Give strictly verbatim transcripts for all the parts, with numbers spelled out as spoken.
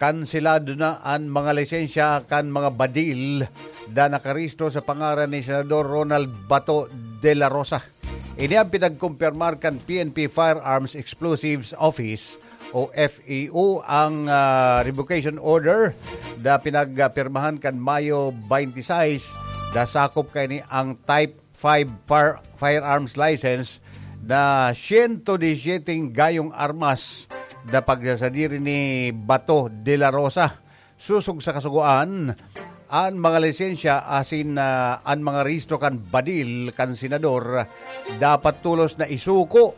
Kanselado na an mga lisensya kan mga badil na nakarehistro sa pangaran ni Senador Ronald Bato de la Rosa. Ini ang pinagkumpirmar kan P N P Firearms Explosives Office o F E O ang, ah, revocation order na pinagpirmahan kan Mayo twenty-six na sakop kaini ang Type five fire-, firearms license na siyento disiyete gayong armas na pagsasadiri ni Bato de la Rosa. Sosog sa kasugoan, an mga lisensya asin, ah, an mga rehistro kan badil kan senador dapat tolos na isuko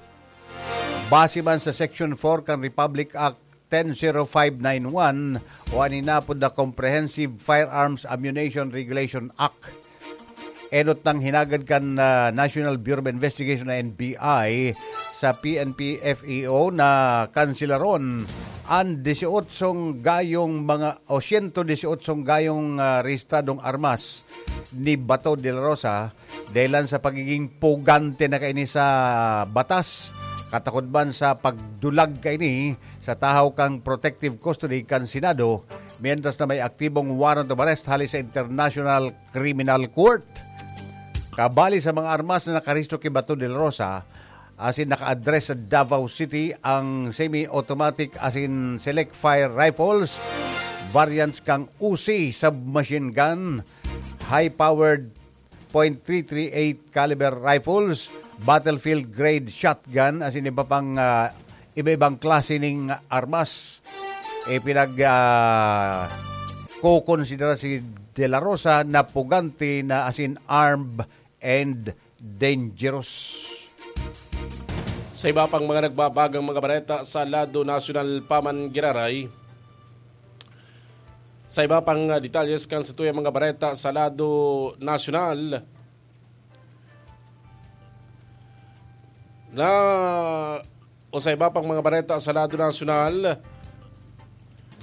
base man sa Section four kan Republic Act ten zero five nine one o an inapod na Comprehensive Firearms Ammunition Regulation Act. Enot nang hinagad kan, ah, National Bureau of Investigation na N B I sa P N P F E O na kanselaron an dieciocho gayong mga o siyento dieciocho gayong, ah, rehistradong armas ni Bato de la Rosa dahilan sa pagiging pugante na kaini sa batas, katakod man sa pagdulag kaini sa tahaw kan protective custody kan Senado, mientras na may aktibong warrant of arrest hali sa International Criminal Court. Kabali sa mga armas na nakarehistro ki Bato de la Rosa, asin naka-address sa Davao City ang semi-automatic asin select fire rifles, variants kan Uzi submachine gun, high-powered point three three eight caliber rifles, battlefield grade shotgun, asin iba pang, ah, iba-ibang klase ning armas. Ipinag, ah, kokonsidera si De La Rosa na pugante na asin armed and dangerous. Sa iba pang mga nagbabagang mga bareta sa lado nasyonal pa man giraray, sa iba pang, ah, detalles kan satuyang mga bareta sa lado nasyonal, na o sa iba pang mga bareta sa lado nasyonal,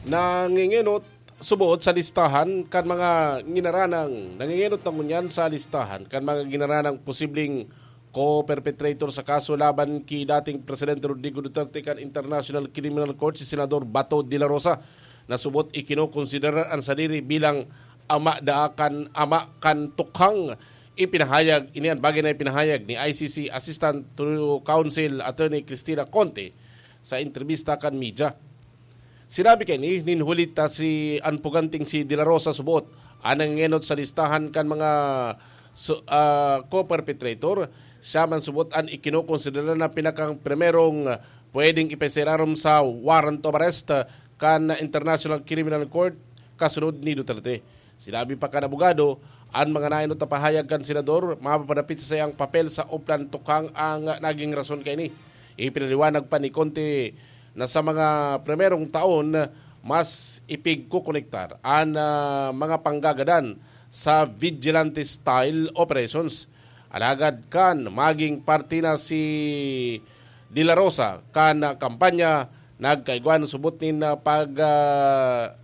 nangingenot subot sa listahan kan mga nginaranang, nangingenot na ngunyan sa listahan kan mga nginaranang posibleng co-perpetrator sa kaso laban ki dating Presidente Rodrigo Duterte kan International Criminal Court si Senador Bato de la Rosa, na subot ikinokonsiderar an sadiri bilang ama daa kan ama kan tukhang. Ipinahayag ini an bagay na ipinahayag ni I C C Assistant to Counsel Attorney Cristina Conte sa entrebista kan media. Sinabi kaini nin huli ta si an puganting si De La Rosa subot an nangengenot sa listahan kan mga su-, ah, co-perpetrator. Siya man subot an ikinokonsidera na pinakang primerong pwedeng ipaisirarom sa warrant of arrest kan International Criminal Court kasunod ni Duterte. Sinabi pa kan abogado, an mga naenot na pahayag kan senador mapapadapit sa saiyang papel sa Oplan Tukhang ang naging rason kaini. Ipinaliwanag pa ni Conte na sa mga primerong taon, mas ipigkukonektar an, ah, mga panggagadan sa vigilante-style operations. Alagad kan maging parte na si De La Rosa kan kampanya, nagkaigwa subot nin, ah, pag, ah,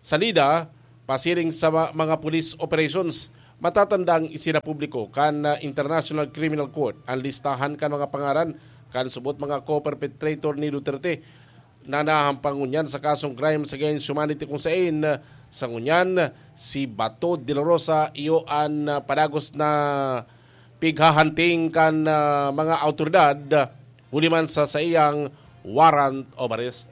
salida pasiring sa ma-, mga police operations. Matatandang isinapubliko kan, ah, International Criminal Court an listahan kan mga pangaran kan subot mga co-perpetrator ni Duterte na nahahampang ngunyan sa kasong crimes against humanity, kung saen, ah, sa ngunyan, si Bato de la Rosa iyo an, ah, padagos na pighahanting kan, ah, mga awtoridad, huli man sa saiyang warrant of arrest.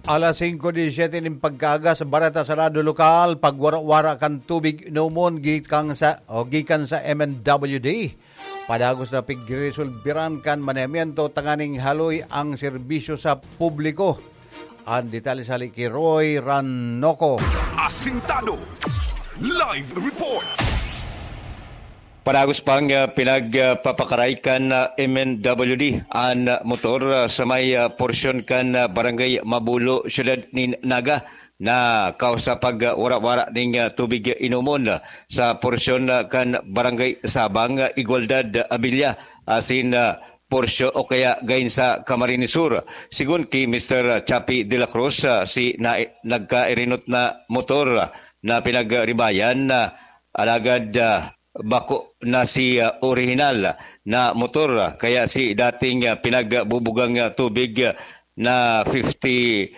Alas singko disiyete nin pagkaaga sa bareta sa lado lokal, pagwara-wara kan tubig inomon gikan sa, o gikan sa M N W D. Padagos na pigresolberan kan manehamiento tanganing haloy ang serbisyo sa publiko. An detalye sa hali ki Roy Ranoco. Asintado. Live report. Padagos pang, ah, pinagpapakaray kan, ah, M N W D an, ah, motor, ah, sa may, ah, porsyon kan, ah, Barangay Mabulo, Siyudad nin Naga, na kausa pag, ah, wara-wara ning, ah, tubig inomon, ah, sa porsyon, ah, kan Barangay Sabang, ah, Igualdad, ah, Abilia, asin, ah, porsyon o kaya gain sa Camarines Sur. Sigon ki Mister Chappie de la Cruz, ah, si na, nagkairinot na motor, ah, na pinagribayan, ah, alagad, ah, bako na si, ah, orihinal na motor, kaya si dating, ah, pinagbubugang, ah, tubig, ah, na fifty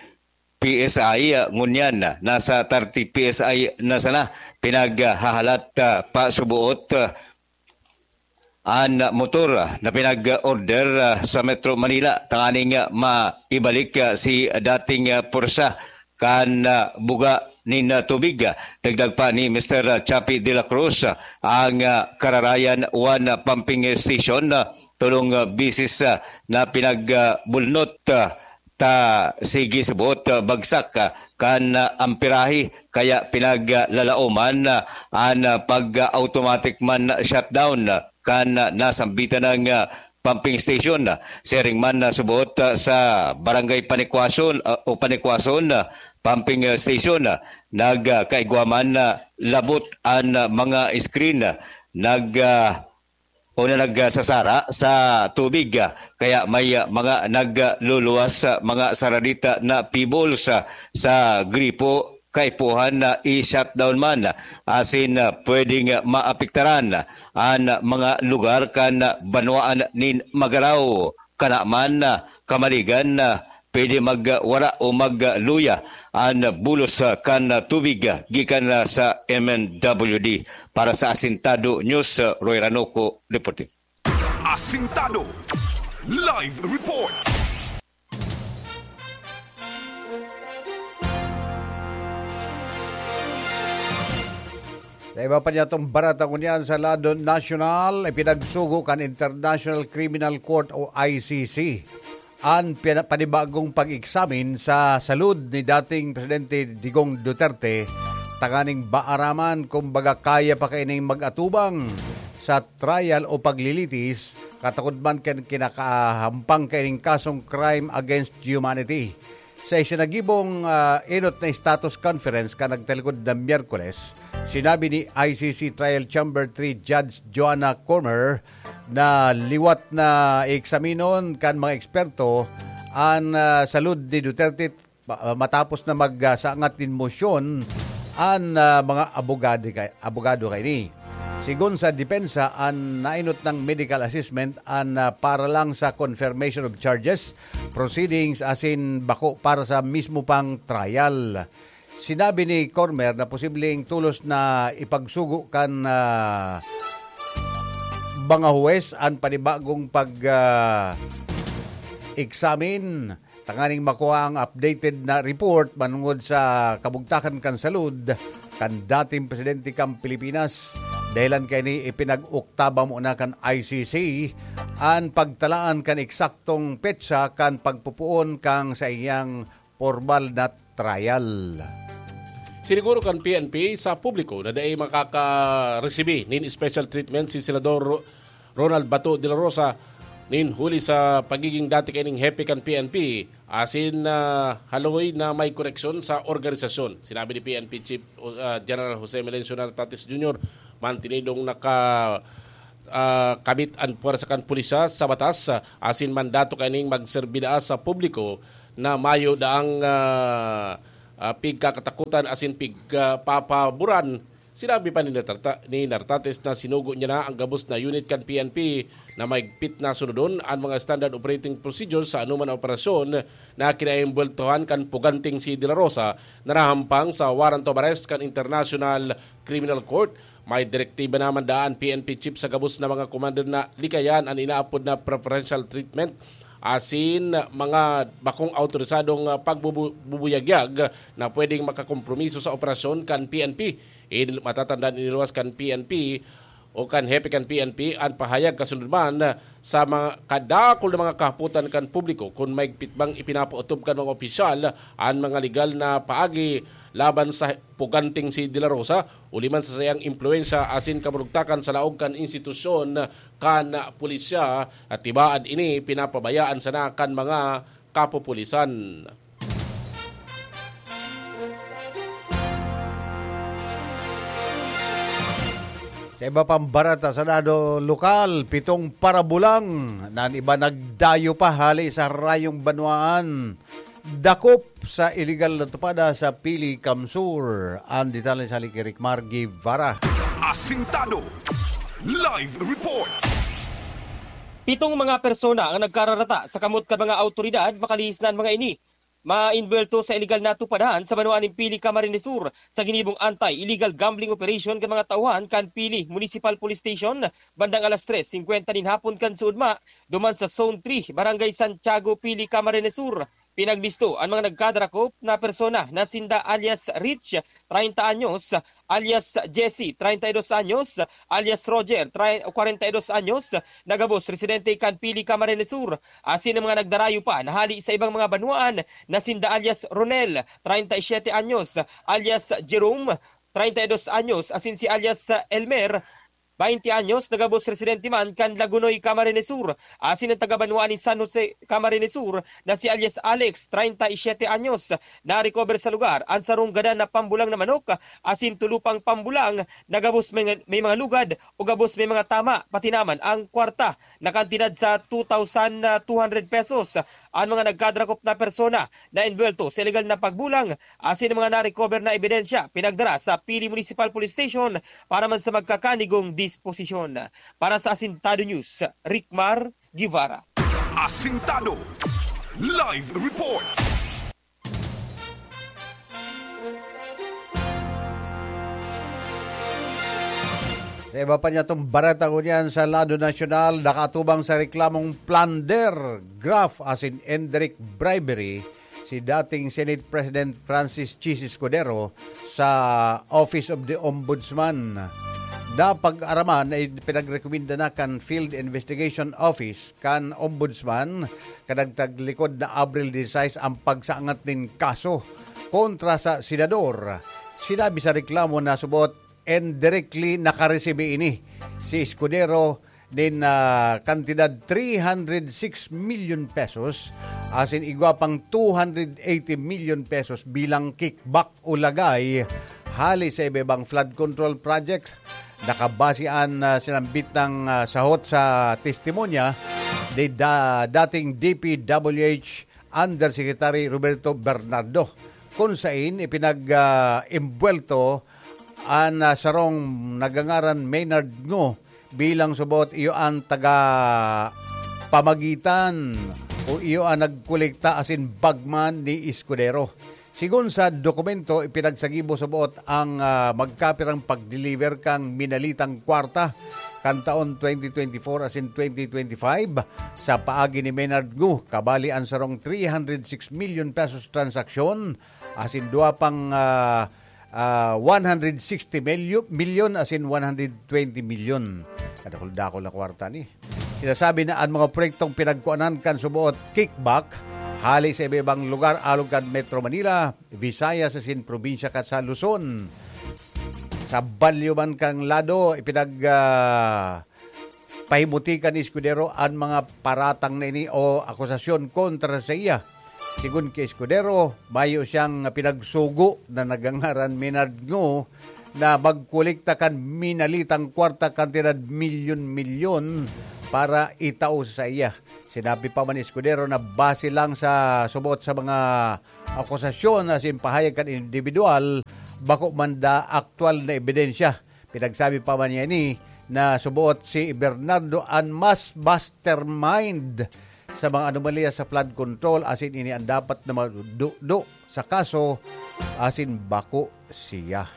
P S I, ah, ngunyan, ah, nasa thirty P S I na sana. Pinaghahalat, ah, pa subuot, ah, an motor, ah, na pinag-order, ah, sa Metro Manila tanganing, ah, maibalik, ah, si dating, ah, pwersa kan, ah, buga nin, ah, tubig. Dagdag pa ni Mister Chappie de la Cruz, ah, ang, ah, Kararayan one, ah, pumping station, ah, tolong, ah, bisis, ah, na pinagbulnot, ah, ta sige suboot, ah, bagsak, ah, kan, ah, amperahe, kaya pinaglalaoman, ah, an, ah, pag, ah, automatic man shutdown, ah, kan, ah, nasambitan ng, ah, pumping station. Siring man na suboot, ah, sa Barangay Panikwason, ah, o Panikwason, ah, pumping, ah, station, ah, nagkaigwa man, ah, labot an, ah, mga screen, ah, nag, ah, o na nagsasara sa tubig, ah, kaya may, ah, mga nagluluwas sa mga saradita na pebbles, ah, sa gripo, kaipuhan na i-shutdown man, asin, ah, pwedeng, ah, maapektaran an mga lugar kan banwaan nin Magarao, kana man, ah, Kamaligan, ah, pwede magwara o magluya an bulos, ah, kan tubig, ah, gikan, ah, sa M N W D. Para sa Asintado News, ah, Roy Ranoco, reporting. Asintado Live Report. Sa iba pa niyatong barata ngunyan sa lado nasyonal, ipinagsugo kan International Criminal Court o I C C an pina-, panibagong pag-eksamin sa salud ni dating Presidente Digong Duterte tanganing maaraman kung baga kaya pa kaining mag-atubang sa trial o paglilitis, katakod man kan kinakahampang kaining kasong crime against humanity. Sa isinagibong, ah, enot na status conference kan nagtalikod na Miyerkules, sinabi ni I C C Trial Chamber three Judge Joanna Comer na liwat na eksaminon kan mga eksperto an, ah, salud ni Duterte pa-, matapos na magsangat nin mosyon an, ah, mga abogado kay, abogado kaini. Sigon sa depensa, an nainot nang medical assessment an, ah, para lang sa confirmation of charges, proceedings, asin bako para sa mismo pang trial. Sinabi ni Comer na posibleng tolos na ipagsugo kan, ah, mga huwes an panibagong pag, ah, eksamin tanganing makua ang updated na report manungod sa kabugtakan kan salud kan dating presidente kan Pilipinas. Dahilan kaini, ipinag-oktaba mo na kan I C C an pagtalaan kan eksaktong petsa kan pagpupuon kan saiyang pormal na trial. Siniguro kan P N P sa publiko na dai makakaresibi nin special treatment si Senador Ronald Bato de la Rosa nin huli sa pagiging dati kaining hepe kan P N P, asin, ah, haloy na may koneksyon sa organisasyon. Sinabi ni P N P Chief, ah, General Jose Melencio Nartates Junior, mantinidong naka, ah, kabit an puwersa kan pulisya sa batas, ah, asin mandato kaining magserbi daa sa publiko na mayo daang, ah, ah, pigkakatakutan asin pigpapaboran. Sinabi pa ni Nartata-, ni Nartates na sinugo niya na ang gabos na unit kan P N P na mahigpit na sunodon an mga standard operating procedures sa anoman na operasyon na kinaimbweltohan kan puganting si De La Rosa na nahampang sa warrant of arrest kan International Criminal Court. May direktiba naman daan P N P chief sa gabos na mga commander na likayan an inaapod na preferential treatment asin mga bakong awtorisadong, ah, pagbubu-, bubuyagyag na pwedeng makakompromiso sa operasyon kan P N P. In-, matatandaan, iniluwas kan P N P o kan hepe kan P N P an pahayag kasunod man sa mga kadakul na mga kahapotan kan publiko kun mahigpit bang ipinapaotob kan mga opisyal an mga legal na paagi laban sa puganting si De La Rosa, uli man sa saiyang impluwensya asin kaburugtakan sa laog kan institusyon kan pulisya, at tibaad ini pinapabayaan sana kan mga kapupulisan. Sa iba pang barata sa lado lokal, pitong parabulang na an iba nagdayo pa hali sa rayong banwaan. Dakop sa iligal na tupada sa Pili, Kamsur. Ang detalye sa Likirikmar Guevara. Asintado. Live report. Pitong mga persona ang nagkararata sa kamot kan mga awtoridad makalihis na an mga ini maimbuwelto sa iligal na tupadan sa banwaan nin Pili, Camarines Sur, sa ginibong anti-illegal gambling operation kan mga tauhan kan Pili Municipal Police Station bandang alas tres singkwenta nin hapon kan suodma, duman sa Zone three, Barangay Santiago, Pili, Camarines Sur. Pinagbisto an mga nagkadarakop na persona na sinda alias Rich, treinta anyos, alias Jesse, treinta y dos anyos, alias Roger, tri-, kwarenta y dos anyos, na gabos residente kan Pili, Camarines Sur, asin ang mga nagdarayo pa na hali sa ibang mga banwaan na sinda alias Ronel, treinta y siete anyos, alias Jerome, treinta y dos anyos, asin si alias Elmer, baynte anyos, na gabos residente man kan Lagunoy, Camarines Sur, asin ang taga-banwaan nin San Jose, Camarines Sur, na si alias Alex, treinta y siete anyos. Na-recover sa lugar an sarong gadan na pambulang na manok, asin tulo pang pambulang na gabos may, may mga lugad o gabos may mga tama, pati naman ang kwarta na kantidad sa two thousand two hundred pesos. An mga nagkadarakop na persona na envuelto sa iligal na pagbulang asin mga na-recover na ebidensya pinagdara sa Pili Municipal Police Station para man sa magkakanigong disposisyon. Para sa Asintado News, Rickmar Guevara. Asintado Live Report. Sa iba pa niyatong bareta ngunyan sa lado nasyonal, nakatubang sa reklamong plunder, graft asin indirect bribery si dating Senate President Francis Chiz Escudero sa Office of the Ombudsman. Napag-araman na ipinagrekomenda na kan Field Investigation Office kan Ombudsman kadagtag likod na Abril disisais ang pagsaangat nin kaso kontra sa senador. Sinabi sa reklamo na subot indirectly nakaresibi ini si Escudero nin, ah, kantidad three hundred six million pesos, asin igwa pang two hundred eighty million pesos bilang kickback o lagay hali sa iba-ibang flood control projects. Nakabase an, ah, sinambit na, ah, sahot sa testimonya ni da-, dating D P W H Undersecretary Roberto Bernardo, kun sain ipinag, ah, imbuwelto an, ah, sarong nagangaran Maynard Ngo bilang subot iyo an taga pamagitan o iyo an nagkolekta asin bagman ni Escudero. Sigon sa dokumento, ipinagsagibo subot ang, ah, magkapirang pag-deliver kan minalitang kwarta kan taon twenty twenty-four asin twenty twenty-five sa paagi ni Maynard Ngo, kabali an sarong three hundred six million pesos transaksyon asin duwa pang, ah, ah, one hundred sixty milyon, milyon asin one hundred twenty milyon. Kadakul-dakul na kwarta ni. Sinasabi na an mga proyektong pinagkuanan kan suboot kickback hali sa iba-ibang lugar alog kan Metro Manila, Visayas asin probinsya kan sa Luzon. Sa balyo man kan lado, ipinag, ah, pahimutikan ni Escudero an mga paratang na ini o akusasyon kontra sa iya. Sigon ki Escudero, mayo siyang pinagsugo na nagangaran Maynard Ngo na magkolekta kan minalitang kwarta kantidad milyon-milyon para itao sa iya. Sinabi pa man ni Escudero na base lang sa subot sa mga akusasyon na simpahayag kan individual, bako man da aktual na ebidensya. Pinagsabi pa man niya ini na suboot si Bernardo an mas mastermind sa mga anomalya sa flood control, asin ini an dapat na magdudo sa kaso, asin bako siya.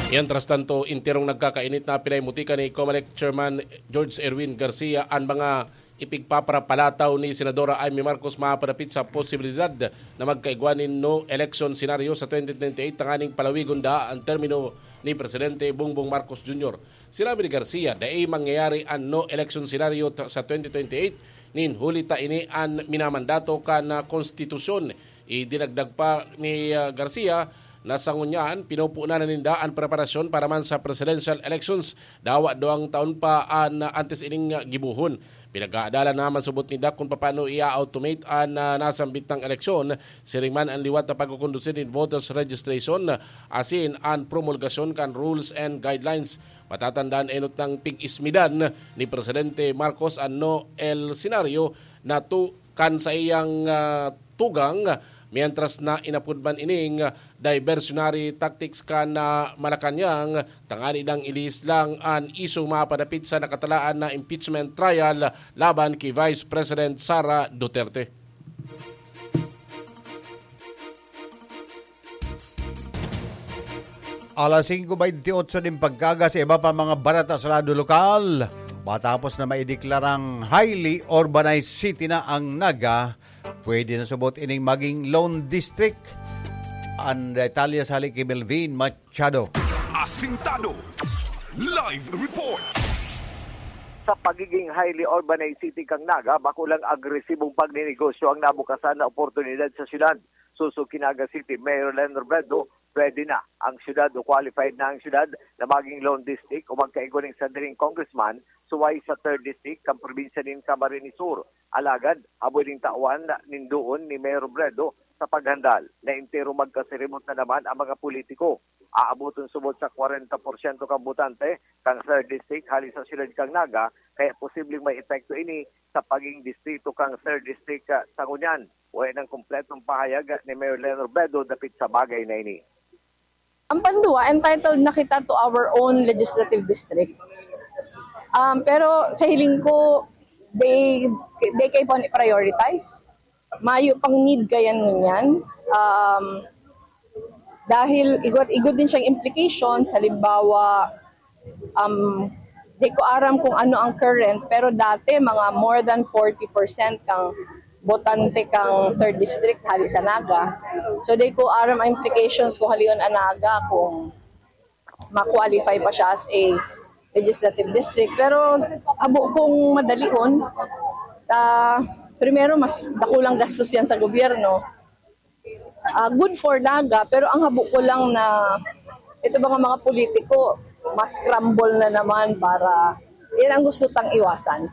Mientras tanto, enterong nagkakainit na pinaimutika ni Comelec Chairman George Erwin Garcia an mga ipigpaparapalataw ni Senadora Imee Marcos mapadapit sa posibilidad na magkaigwa nin no election scenario sa twenty twenty-eight tanganing palawigon daa an termino ni Presidente Bongbong Marcos Junior. Sinabi ni Garcia, dai mangyayari an no election scenario ta-, sa twenty twenty-eight, nin huli ta ini an minamandato kan, ah, konstitusyon. Idinagdag pa ni, ah, Garcia na sa ngunyan, pinupunan na ninda an preparasyon para man sa presidential elections dawa duwang taon pa an antes ining gibohon. Pinag-aadalan naman subot ninda kun papaano i-automate an, ah, nasambit na eleksyon, siring man an liwat na pagkukondusir nin voters registration, asin an promulgasyon kan rules and guidelines. Matatandaan, enot nang pig-ismidan ni Presidente Marcos an no el senaryo na tu-, kan sa iyang, ah, tugang mientras na inapod man ining diversionary tactics kan, ah, Malacañang, tangani nang ilihis lang an isyu mapadapit sa nakatalaan na impeachment trial laban ki Vice President Sara Duterte. Alas singko beintiotso nin pagkaga sa iba pa mga barata sa lado lokal. Matapos na maideklarang highly urbanized city na ang Naga, pwede na subot ining maging Lone District. Ang detalye sa hali ki Melvin Machado. Asintado. Live report. Sa pagiging highly urbanized city kan Naga, bako lang agresibong pagninegosyo ang nabukasan na oportunidad sa syudad. Sosog ki Naga City Mayor Len Robredo, pwede na ang syudad o qualified na ang syudad na maging Lone District o magkaigwa nin sandaling congressman suway sa Third District kan probinsya nin Camarines Sur. Alagad, habo ning tawan nin duon ni Mayor Robredo sa paghandal na entero magkasiribot na naman ang mga politiko. Aaboton subot sa kwarenta porsyento kan botante kan Third District hali sa syudad kan Naga, kaya posibleng may epekto ini sa pagiging distrito kan Third District, ah, sa ngunyan. Wala nang kompletong pahayag ni Mayor Len Robredo dapit sa bagay na ini. Ang pandua, entitled na kita to our own legislative district. Um, pero sa hiling ko, they, they keep on prioritize. Mayo pang need kayan ngunyan. Um, dahil igod-igod din siyang implications, halimbawa, um, di ko aram kung ano ang current, pero dati mga more than forty percent kang botante kang third district hali sa Naga. So, di ko aram ang implications kung halion ang Naga, kung ma-qualify pa siya as a legislative district. Pero habo kong madalion, ah, primero, mas dakulang gastos yan sa gobyerno. Ah, good for Naga, pero ang habo ko lang na ito mga mga politiko, mas scramble na naman para yan ang gusto tang iwasan.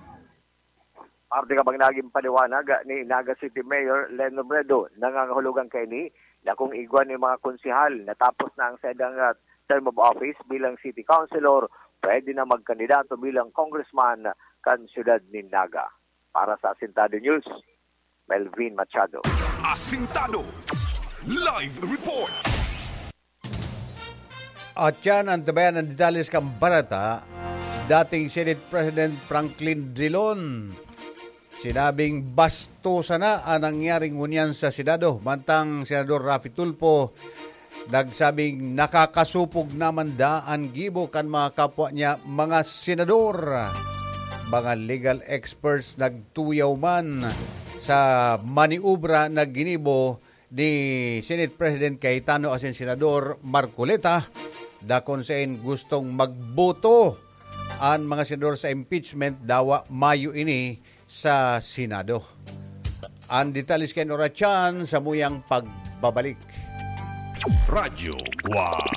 Parte ka bang naging paliwanag ni Naga City Mayor Len Robredo, nangangahulugan kaini na kung igwa ni mga konsehal natapos na ang saidang, ah, term of office bilang city councilor, pwede na magkandidato bilang congressman kan siyudad nin Naga. Para sa Asintado News, Melvin Machado. Asintado. Live report. At yan ang tabayan ng detalles kan barata. Dating Senate President Franklin Drilon, sinabing bastusa na ang nangyaring ngunyan sa Senado. Mantang Senador Raffy Tulfo, nagsabing nakakasupog naman da an gibo kan mga kapwa niya mga senador. Mga legal experts nagtuyaw man sa maniobra na ginibo ni Senate President Cayetano asin Senador Marcoleta, dakon sain gustong magboto an mga senador sa impeachment, dawa mayo ini sa Senado. An detalye kan oras kan samuyang pagbabalik. Radyo Guwang.